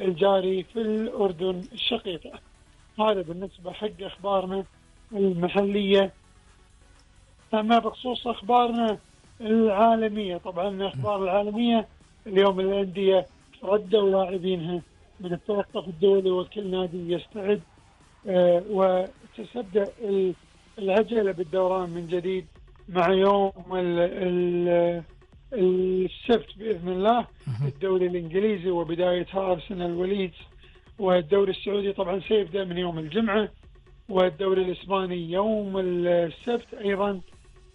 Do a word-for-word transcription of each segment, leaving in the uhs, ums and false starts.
الجاري في الأردن الشقيقة. هذا بالنسبة حق أخبارنا المحلية. أما بخصوص أخبارنا العالمية، طبعا الأخبار العالمية اليوم الأندية ردوا لاعبينها من التوقف الدولي، وكل نادي يستعد آه وتبدأ العجلة بالدوران من جديد مع يوم ال ال السبت بإذن الله الدوري الإنجليزي وبدايتها أرسنال وليدز، والدوري السعودي طبعا سيبدأ من يوم الجمعة، والدوري الإسباني يوم السبت أيضا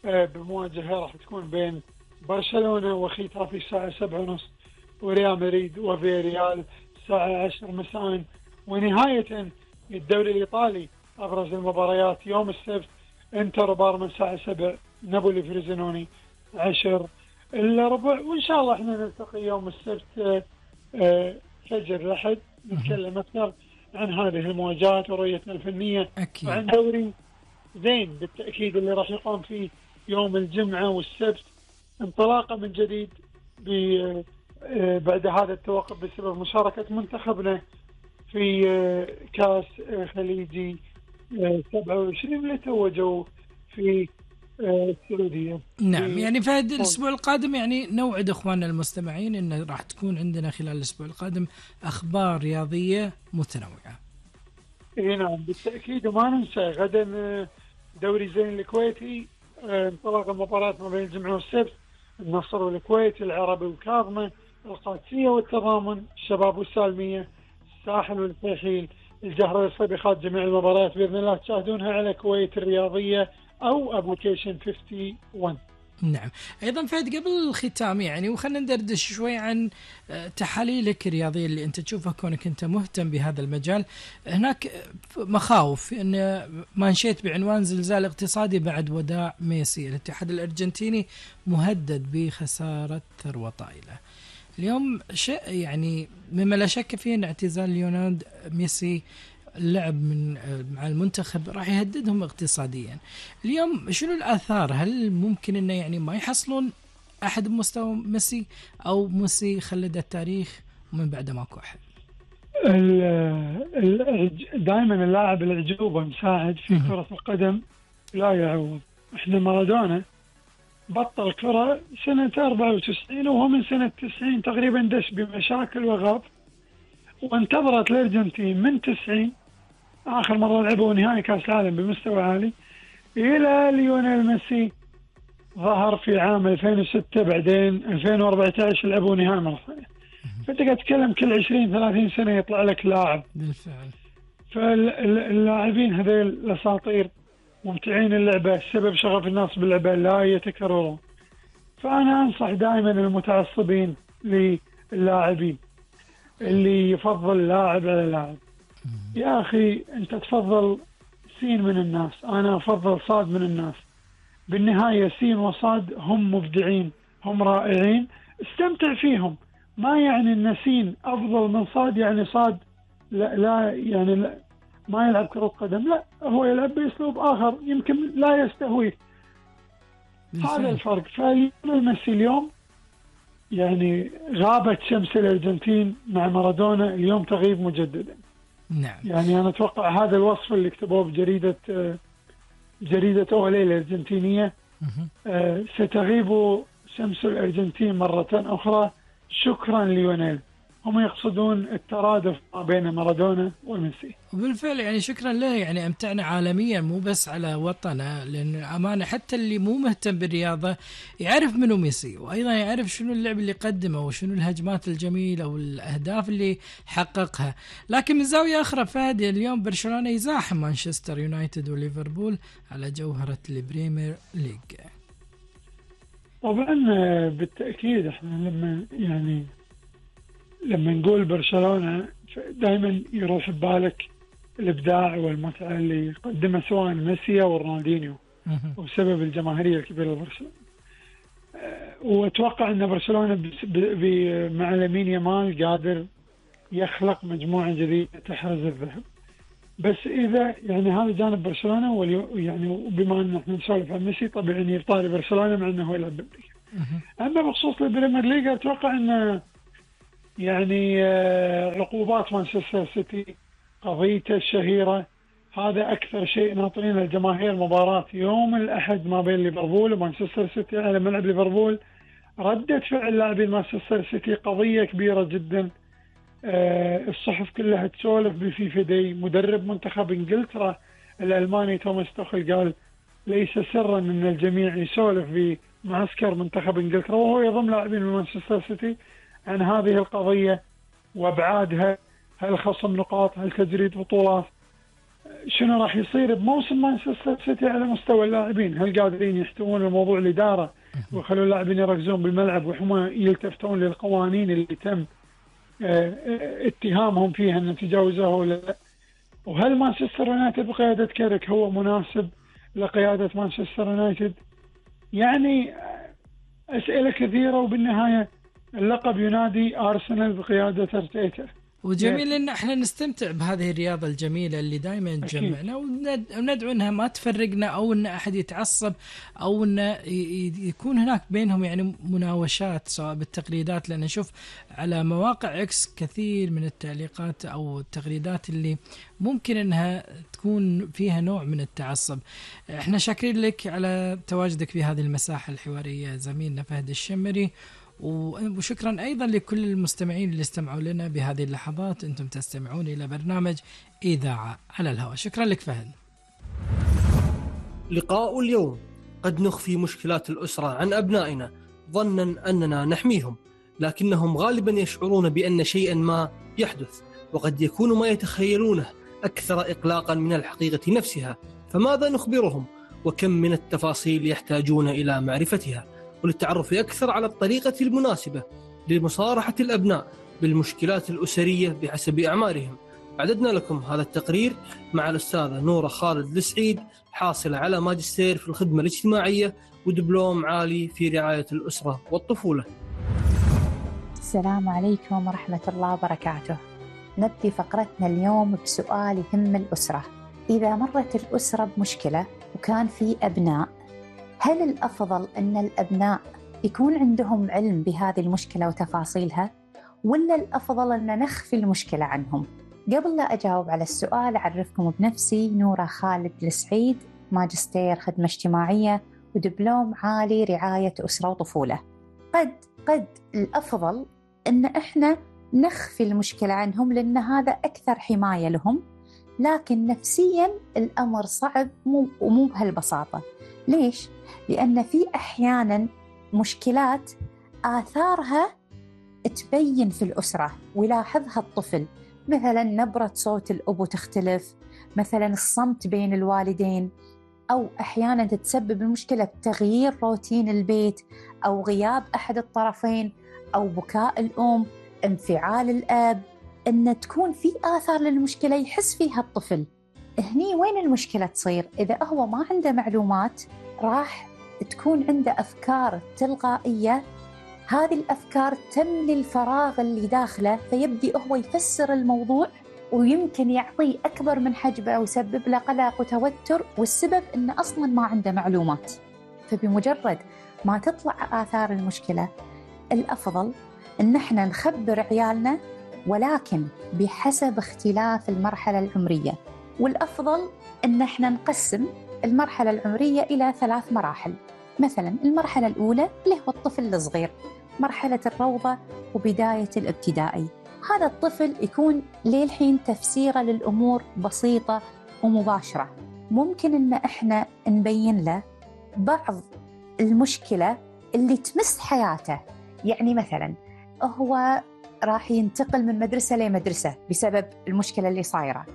بمواجهة راح تكون بين برشلونة وختافي الساعة سبعة ونص، وريال مدريد وفياريال الساعة عشر مساء. ونهاية الدوري الإيطالي أبرز المباريات يوم السبت انتر بارما الساعة سبع، نابولي فريزينوني عشر إلا ربع. وإن شاء الله احنا نلتقي يوم السبت فجر الأحد نتكلم أكثر عن هذه المواجهات ورؤيتنا الفنية أكيد. وعن دوري زين بالتأكيد اللي راح يقام فيه يوم الجمعة والسبت، انطلاقة من جديد بعد هذا التوقف بسبب مشاركة منتخبنا في كاس خليجي سبعة وعشرين اللي توجوا في السعودية. نعم، يعني في هذا الأسبوع القادم يعني نوعد إخواننا المستمعين إن راح تكون عندنا خلال الأسبوع القادم أخبار رياضية متنوعة. إيه نعم بالتأكيد. وما ننسى غدا دوري زين الكويتي، انطلاق المباراة ما بين الجمعة والسبت، النصر والكويت، العربي وكاظمة، القادسية والتضامن، الشباب والسالمية، الساحل والفيحيل، الجهرة والصبيخات. جميع المباريات بإذن الله تشاهدونها على كويت الرياضية أو أبليكيشن واحد وخمسين. نعم. أيضا فهد قبل الختام يعني وخلنا ندردش شوي عن تحاليلك الرياضية اللي أنت تشوفها كونك أنت مهتم بهذا المجال. هناك مخاوف أن ما نشيت بعنوان زلزال اقتصادي بعد وداع ميسي. الاتحاد الأرجنتيني مهدد بخسارة ثروة طائلة. اليوم شيء يعني مما لا شك فيه أن اعتزال ليوناردو ميسي اللعب من مع المنتخب راح يهددهم اقتصاديا. اليوم شنو الآثار؟ هل ممكن إنه يعني ما يحصلون أحد بمستوى ميسي، أو ميسي خلد التاريخ ومن بعده ماكو أحد؟ دائما اللاعب العجوبة مساعد في كرة القدم لا يعوض. احنا مارادونا بطل كرة سنة أربعة وتسعين وهو من سنة تسعين تقريبا دش بمشاكل وغاب، وانتظرت الأرجنتين من تسعين آخر مرة لعبوا نهائي كأس العالم بمستوى عالي إلى ليونيل ميسي ظهر في عام ألفين وستة، بعدين ألفين وأربعة عشر لعبوا نهائي مرة ثانية. فأنت قاعد تتكلم كل عشرين ثلاثين سنة يطلع لك لاعب بالفعل. فاللاعبين هذول الأساطير ممتعين اللعبة، سبب شغف الناس باللعبة لا يتكررون. فأنا أنصح دائما المتعصبين للاعبين اللي يفضل لاعب على لاعب، يا أخي أنت تفضل سين من الناس، أنا أفضل صاد من الناس. بالنهاية سين وصاد هم مبدعين، هم رائعين، استمتع فيهم. ما يعني أن سين أفضل من صاد يعني صاد لا, لا يعني لا ما يلعب كرة قدم، لا هو يلعب بأسلوب آخر يمكن لا يستهويه. هذا الفرق. فالميسي اليوم يعني غابت شمس الأرجنتين مع مارادونا، اليوم تغيب مجددا. نعم. يعني أنا أتوقع هذا الوصف اللي كتبوه بجريدة جريدة أولي الأرجنتينية، ستغيب شمس الأرجنتين مرة أخرى شكرا ليونيل. هم يقصدون الترادف بين مارادونا وميسي. وبالفعل يعني شكرا له، يعني أمتعنا عالميا مو بس على وطنه، لأن أمانة حتى اللي مو مهتم بالرياضة يعرف منه ميسي، وأيضا يعرف شنو اللعب اللي قدمه وشنو الهجمات الجميلة والأهداف اللي حققها. لكن من زاوية أخرى فهد، اليوم برشلونة يزاحم مانشستر يونايتد وليفربول على جوهرة البريمير ليج. طبعا بالتأكيد احنا لما يعني لما نقول برشلونة دائما يروح ببالك الإبداع والمتعة اللي قدمها سواء ميسي أو رونالدينيو، وسبب الجماهيرية الكبيرة لبرشلونة. وأتوقع أن برشلونة مع لامين يامال قادر يخلق مجموعة جديدة تحرز الذهب. بس إذا يعني هذا جانب برشلونة، ويعني بما أن احنا نسولف عن ميسي طبيعي أن يطالب برشلونة مع أنه يلعب بالليغا. أما بخصوص البريمير ليج أتوقع أن يعني آه، عقوبات مانشستر سيتي، قضيته الشهيرة، هذا أكثر شيء ناطرين الجماهير. مباراة يوم الأحد ما بين ليفربول ومانشستر سيتي على ملعب ليفربول، ردة فعل لاعبين مانشستر سيتي قضية كبيرة جدا. آه، الصحف كلها تسولف بفيفا داي. مدرب منتخب انجلترا الألماني توماس توخل قال ليس سرا ان الجميع يسولف بمعسكر منتخب انجلترا وهو يضم لاعبين من مانشستر سيتي عن هذه القضية وابعادها. هل خصم نقاط؟ هل تجريد بطولات؟ شنو راح يصير بموسم مانشستر سيتي على مستوى اللاعبين؟ هل قادرين يحتوون الموضوع الإدارة ويخلوا اللاعبين يركزون بالملعب وهم يلتفتون للقوانين اللي تم اتهامهم فيها ان تجاوزوها ولا لا؟ وهل مانشستر يونايتد بقيادة كاريك هو مناسب لقيادة مانشستر يونايتد؟ يعني أسئلة كثيرة، وبالنهاية اللقب ينادي أرسنال بقيادة أرتيتا. وجميل ان احنا نستمتع بهذه الرياضة الجميلة اللي دائما تجمعنا، وندعو انها ما تفرقنا او ان احد يتعصب او ان يكون هناك بينهم يعني مناوشات سواء بالتغريدات، لان نشوف على مواقع اكس كثير من التعليقات او التغريدات اللي ممكن انها تكون فيها نوع من التعصب. احنا شاكرين لك على تواجدك في هذه المساحة الحوارية زميلنا فهد الشمري، وشكرا أيضا لكل المستمعين اللي استمعوا لنا بهذه اللحظات. أنتم تستمعون إلى برنامج إذاعة على الهواء. شكرا لك فهد. لقاء اليوم: قد نخفي مشكلات الأسرة عن أبنائنا ظنا أننا نحميهم، لكنهم غالبا يشعرون بأن شيئا ما يحدث، وقد يكون ما يتخيلونه أكثر إقلاقا من الحقيقة نفسها. فماذا نخبرهم؟ وكم من التفاصيل يحتاجون إلى معرفتها؟ وللتعرف أكثر على الطريقة المناسبة لمصارحة الأبناء بالمشكلات الأسرية بحسب أعمارهم، أعددنا لكم هذا التقرير مع الأستاذة نورة خالد السعيد، حاصلة على ماجستير في الخدمة الاجتماعية ودبلوم عالي في رعاية الأسرة والطفولة. السلام عليكم ورحمة الله وبركاته. نبدي فقرتنا اليوم بسؤال يهم الأسرة. إذا مرت الأسرة بمشكلة وكان في أبناء، هل الأفضل أن الأبناء يكون عندهم علم بهذه المشكلة وتفاصيلها، ولا الأفضل أن نخفي المشكلة عنهم؟ قبل لا أجاوب على السؤال أعرفكم بنفسي. نورة خالد السعيد، ماجستير خدمة اجتماعية ودبلوم عالي رعاية أسرة وطفولة. قد قد الأفضل أن إحنا نخفي المشكلة عنهم لأن هذا أكثر حماية لهم، لكن نفسياً الأمر صعب ومو بهالبساطة. ليش؟ لأن في أحياناً مشكلات آثارها تبين في الأسرة ويلاحظها الطفل، مثلاً نبرة صوت الأب تختلف، مثلاً الصمت بين الوالدين، أو أحياناً تتسبب المشكلة بتغيير روتين البيت أو غياب أحد الطرفين أو بكاء الأم، انفعال الأب، أن تكون في آثار للمشكلة يحس فيها الطفل. هني وين المشكلة تصير؟ إذا هو ما عنده معلومات راح تكون عنده أفكار تلقائية، هذه الأفكار تملي الفراغ اللي داخله، فيبدي هو يفسر الموضوع ويمكن يعطيه أكبر من حجمه ويسبب له قلق وتوتر، والسبب إنه أصلاً ما عنده معلومات. فبمجرد ما تطلع آثار المشكلة الأفضل إن احنا نخبر عيالنا، ولكن بحسب اختلاف المرحلة العمرية. والأفضل إن احنا نقسم المرحلة العمرية إلى ثلاث مراحل. مثلا المرحلة الأولى اللي هو الطفل الصغير، مرحلة الروضة وبداية الابتدائي. هذا الطفل يكون للحين تفسيره للأمور بسيطة ومباشرة. ممكن إن احنا نبين له بعض المشكلة اللي تمس حياته. يعني مثلا هو راح ينتقل من مدرسة لمدرسة بسبب المشكلة اللي صايرة،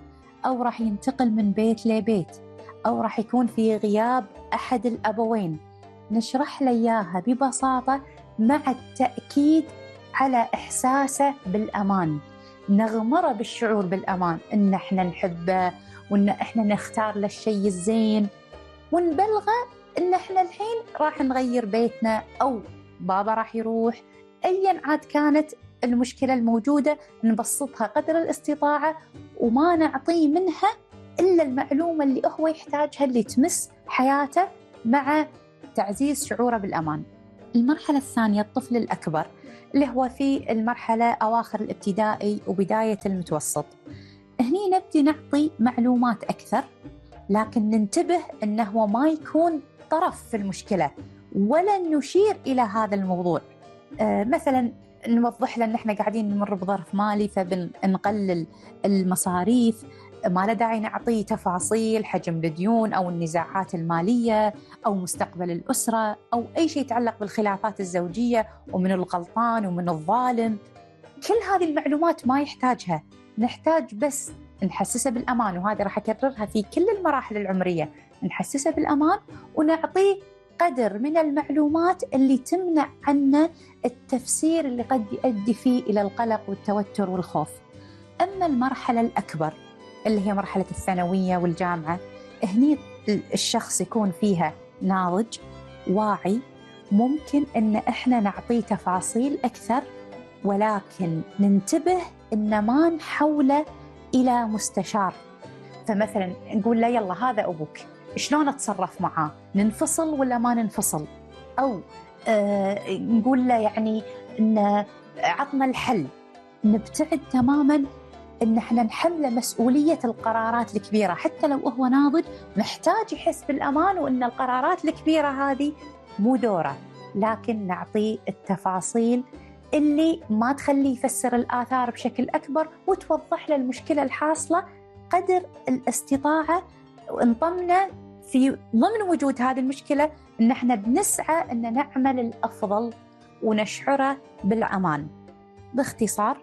أو راح ينتقل من بيت لبيت، أو راح يكون في غياب أحد الأبوين. نشرح له إياها ببساطة مع التأكيد على إحساسه بالأمان، نغمره بالشعور بالأمان، إن إحنا نحبه وإن إحنا نختار له الشيء الزين، ونبلغه إن إحنا الحين راح نغير بيتنا أو بابا راح يروح. أياً عاد كانت المشكلة الموجودة نبسطها قدر الاستطاعة وما نعطيه منها إلا المعلومة اللي هو يحتاجها اللي تمس حياته، مع تعزيز شعوره بالأمان. المرحلة الثانية الطفل الأكبر اللي هو في المرحلة أواخر الابتدائي وبداية المتوسط. هني نبدي نعطي معلومات أكثر، لكن ننتبه أنه ما يكون طرف في المشكلة ولا نشير إلى هذا الموضوع. آه مثلا نوضح له أن احنا قاعدين نمر بظرف مالي فبنقلل المصاريف، ما له داعي نعطي تفاصيل حجم الديون أو النزاعات المالية أو مستقبل الأسرة أو أي شيء يتعلق بالخلافات الزوجية ومن الغلطان ومن الظالم. كل هذه المعلومات ما يحتاجها، نحتاج بس نحسسه بالأمان، وهذه راح أكررها في كل المراحل العمرية، نحسسه بالأمان ونعطيه قدر من المعلومات اللي تمنع عنه التفسير اللي قد يؤدي فيه إلى القلق والتوتر والخوف. أما المرحلة الأكبر اللي هي مرحلة الثانوية والجامعة، هني الشخص يكون فيها ناضج واعي، ممكن أن إحنا نعطيه تفاصيل أكثر، ولكن ننتبه أن ما نحوله إلى مستشار. فمثلا نقول له يلا هذا أبوك، شلون أتصرف معاه؟ ننفصل ولا ما ننفصل؟ أو آه نقول له يعني إن عطنا الحل. نبتعد تماماً إن إحنا نحمله مسؤولية القرارات الكبيرة، حتى لو هو ناضج محتاج يحس بالأمان وإن القرارات الكبيرة هذه مو دوره، لكن نعطيه التفاصيل اللي ما تخليه يفسر الآثار بشكل أكبر وتوضح له المشكلة الحاصلة قدر الاستطاعة، ونطمنه في ضمن وجود هذه المشكلة إن إحنا بنسعى إن نعمل الأفضل ونشعره بالأمان. باختصار،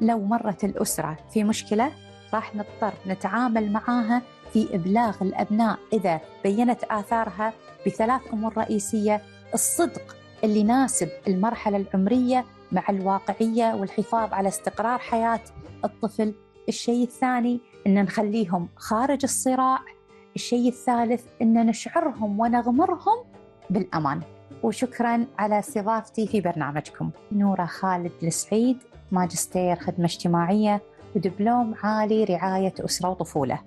لو مرت الأسرة في مشكلة راح نضطر نتعامل معاها في إبلاغ الأبناء إذا بينت آثارها بثلاث أمور رئيسية: الصدق اللي يناسب المرحلة العمرية مع الواقعية والحفاظ على استقرار حياة الطفل. الشيء الثاني إن نخليهم خارج الصراع. الشيء الثالث إن نشعرهم ونغمرهم بالأمان. وشكراً على استضافتي في برنامجكم. نورة خالد السعيد، ماجستير خدمة اجتماعية ودبلوم عالي رعاية أسرة وطفولة.